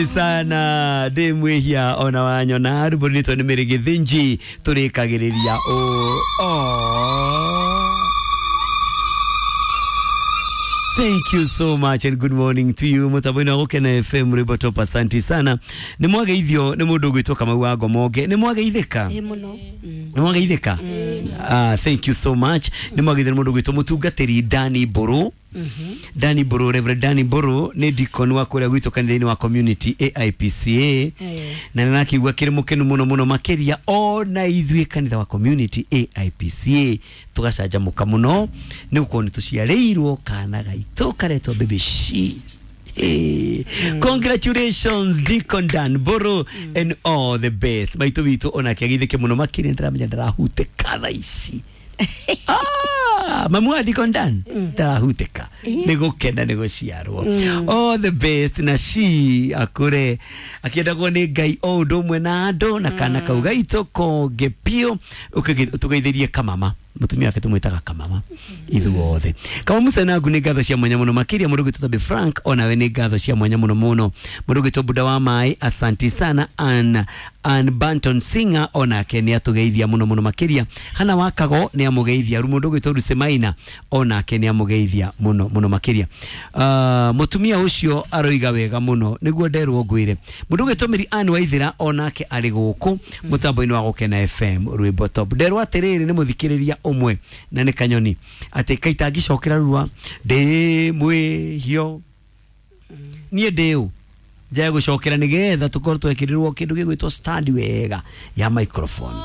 Sana ndä mwä hia ona wanyona rwä rwitwo nä mä rä gä thä nji tå rä kagä rä ria å. Thank you so much and good morning to you. Mutambo-inĩ wa Gũkena FM rwĩmbo top, asanti sana. Nĩ mwageithio nĩ mũndũ ũgwĩtwo Kamau wa Ngomonge. Nĩ mwageithĩka? Ĩ mũno. Nĩ mwageithĩka? Ah, thank you so much. Nĩ mwageithio nĩ mũndũ ũgwĩtwo mũtungatĩri Dani Mbũrũ. Dani Mbũrũ, Reverend Dani Mbũrũ nĩ deacon wa kũrĩa gwitũ kanitha-inĩ wa community AIPCA. Na nĩ nakĩigua kĩrĩ mũkenu mũno mũno makĩria ona ithuĩ kanitha wa community AIPCA tũgacanjamũka mũno nĩ gũkorwo nĩ tũciarĩirwo kana gaitũ karetwo Baby She. Hey. Congratulations Deacon Dan Boro and all the best. Maitũ witũ onake agithĩke mũno makĩria, ndĩramenya ndarahutĩka thaa ici. Ah, mamu wa Deacon Dan ndarahutĩka nĩ gũkena nĩ gũciarwo. All the best na she akũre akĩendagwo nĩ Ngai o ũndũ ũmwe na andũ na kana kau gaitũ konge biũ. Tũgeithĩrie kamama, mũtumia wake tũmwĩtaga kamama ithuothe. Kama mucenangu nĩ ngatho cia mwanya mũno makĩria. Mũndũ ũgwĩtwo Toby Frank onawe nĩ ngatho cia mwanya mũno mũno. Mũndũ ũgwĩtwo Buda wa Maĩ, asanti sana. Ann Banton Singer onake nĩ atũgeithia mũno mũno makĩria. Hana Wakago nĩ amũgeithia. Mũndũ ũgwĩtwo Lucy Maina onake nĩ amũgeithia mũno mũno makĩria. Mũtumia ũcio aroiga wega mũno nĩguo nderwo ngwĩre. Mũndũ ũgwĩtwo Mary Ann Waithĩra onake arĩ gũkũ mũtambo-inĩ wa Gũkena FM rwĩmbo top. Nderwo atĩrĩrĩ nĩ mũthikĩrĩria ũmwe na nĩ kanyoni atĩ kaitangĩcokera rua ndĩ mwĩhio niĩ ndĩ ũ njae gũcokera nĩgetha tũkorwo twekĩrĩrwo kĩndũ gĩgwĩtwo stand wega ya microphone.